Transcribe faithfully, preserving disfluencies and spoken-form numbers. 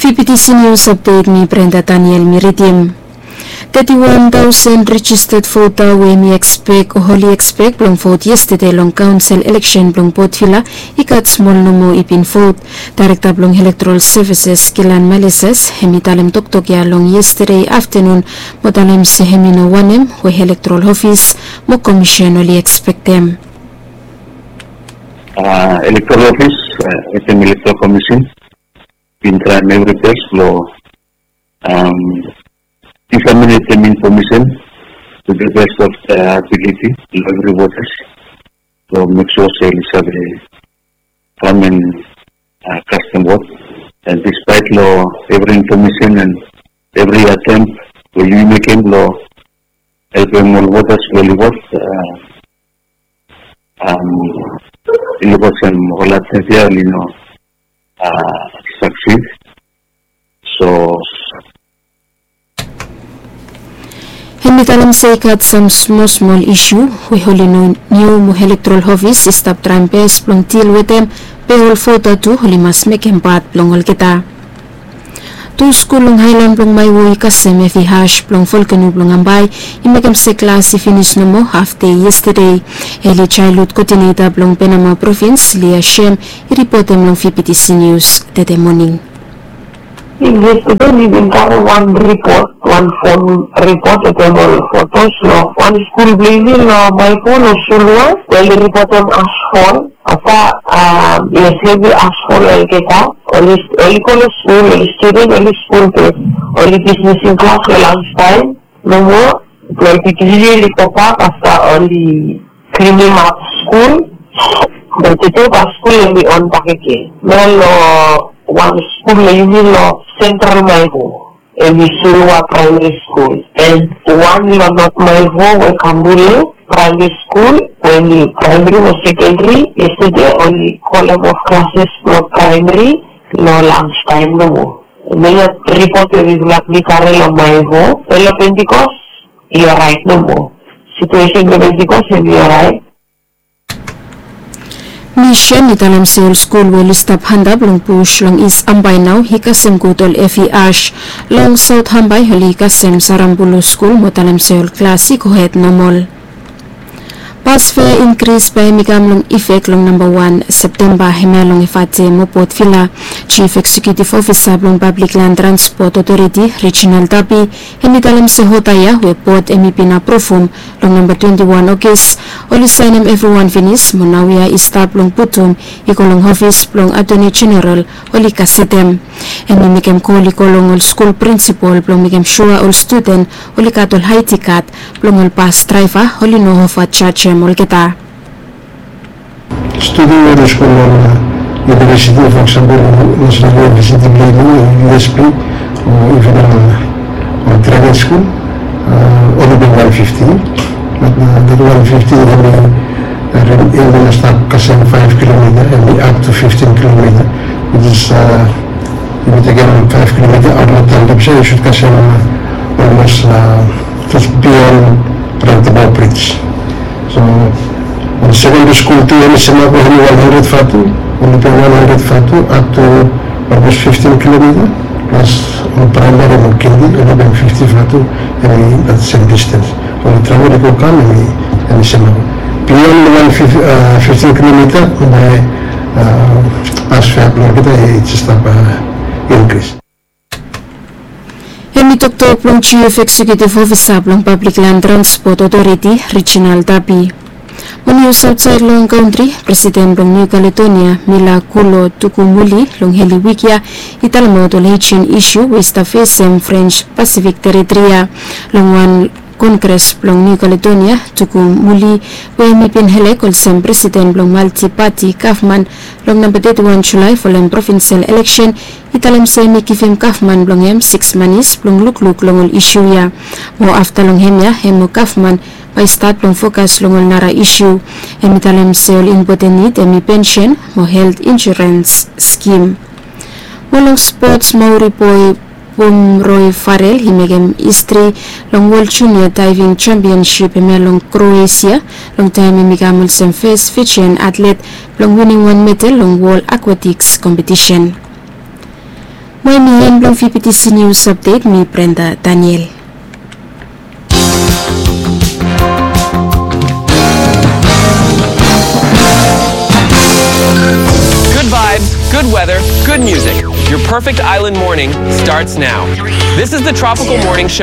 Pipitisi nius apdet, mi Brenda Daniel mi ridim. Teti wan taosen rejisted vota we mi ekspek o oli ekspek blong vot yestede long kaonsel eleksen blong Port Vila i gat smol nomo i bin vot. Daerekta blong Elektorol Sevises, Gilan Malises, hem i talem toktok ya long yestede aftenun mo talem se hem i no wanem we Elektorol Ofis mo Komisen oli ekspektem. Elektorol Ofis wetem Elektorol Komisen bin traem evri bes blong diseminetem infomesen to the best of their ability long evri votas blong mek sua se oli save kam and kastem vot. And despite long evri infomesen and evri atempt we yu mekem blong helpem ol votas blong oli vot, i luk olsem ol atempt ya oli no succeed. So hem i talem se i gat sam smol smol isu we oli no niu mo Elektorol Ofis i stap traem bes blong dil wetem, be ol vota tu oli mas mekem pat blong olgeta. Tu skul long haelan blong Maewo i kasem evi ash blong volkeno blong Ambae i mekem se klas i finis nomo hafdei yestede. Eli jaelhud kodineta blong Penama provins, Lia Shem, i ripotem long Vipitisi Nius tede moning. Yestede mi bin karem wan ripot, wan fon ripot wetem ol fotos long wan skul blong yumi long Maewo long Sulua, we oli ripotem ashfall. Afta yes, hevi ashfall olgeta. Oli go long skul, oli studen, oli skul bes, oli dismisim klas long lunch taem nomo. Twelve fifteen oli gobak afta oli klinim ap skul. Be tede bae skul hemi on bakegen. Nao long wan skul long yumi long Central Maewo, hemi Sulua Praemeri Skul, and wan long Not Maewo we Kambule Praemeri Skul, we hemi praemeri mo sekenderi. Yestede oli kolem of klases blong praemeri long lunch taem nomo. Hemia ripot we mifala mi karem long Maewo. Be long Pentecost i oraet nomo. Situesen blong Pentecost hemi oraet. Misen i talem se ol skul we oli stap antap long bus long Is Ambae nao i kasem gud ol evi ash. Long Saot Ambae oli kasem Sarambulu skul mo talem se ol klas i gohed nomol. Bas fea inkris bae hemi kam long ifek long namba wan Septemba, hemia long Efate mo Port Vila. Jif Eksekiutif Ofisa blong Pablik Lan Transpot Otoriti, Reginald Tapi, hemi talem se oda ya we bot hemi bin apruvum long namba twenti wan Ogis, oli saenem evriwan finis mo naoia i stap long putum i go long ofis blong Atoni Jeneral oli gasetem. Hemi mekem kol i go long ol skul prinsipol blong mekem sua ol studen oli gat ol aedi kad blong ol bas draeva oli no ovajajem olgeta. Studen we oli skul long univesiti, fo eksampol, National University blong yumi, U S P, o iven ol graduate skul, oli bin wan fifti. Be dat wan fifti hemi, hemi no stap kasem faef kilomita, hemi up to fiftin kilomita, which is, yumi tekem faef kilomita aot long taon, be yu sud kasem olmos just bion roundabout bridge. So ol sekendri skul tu hemi semap, hemi wan handred vatu, oli bin wan handred vatu up to olmos fiftin kilomita, plas ol praemeri mo kindi oli bin fifti vatu, hemi dat sem distens. Ol travel i go kam, hemi semap. Bion wan fiftin kilomita bae bas fea blong olgeta i stap inkris. Hemi toktok blong Jif Eksekiutif Ofisa blong Pablik Lan Transpot Otoriti, Reginald Tapi. Mo nius aotsaed long kantri, Presiden blong Niu Kaledonia, Mila Kulo Tukumuli, long eli wik ya i talemaot ol ejen isu we i stap fesem Frens Pasifik teritri ya. Long wan kongres blong Niu Kaledonia, Tukumuli, we hemi bin elek olsem presiden blong malti pati gavman long namba teti wan Julae folem provinsel eleksen, i talem se hemi givim gavman blong hem siks manis blong lukluk long ol isu ya. Mo afta long hemia hem mo gavman bae i stat blong fokas long ol nara isu. Hemi talem se ol impoten nid hemi pensen mo helt insurens skim. Mo long spots, Maori boe Pumroy Farrell i mekem histri long Wol Junia Daeving Jampionsip hemia long Kroesia, long taem hemi kam olsem fes Fijian atlet blong winim wan medal long Wol Akwetiks kompetisen. Moning blong V P T C News Update, mi Brenda Daniel. Good vibes, good weather, good music. Your perfect island morning starts now. This is the Tropical Morning Show.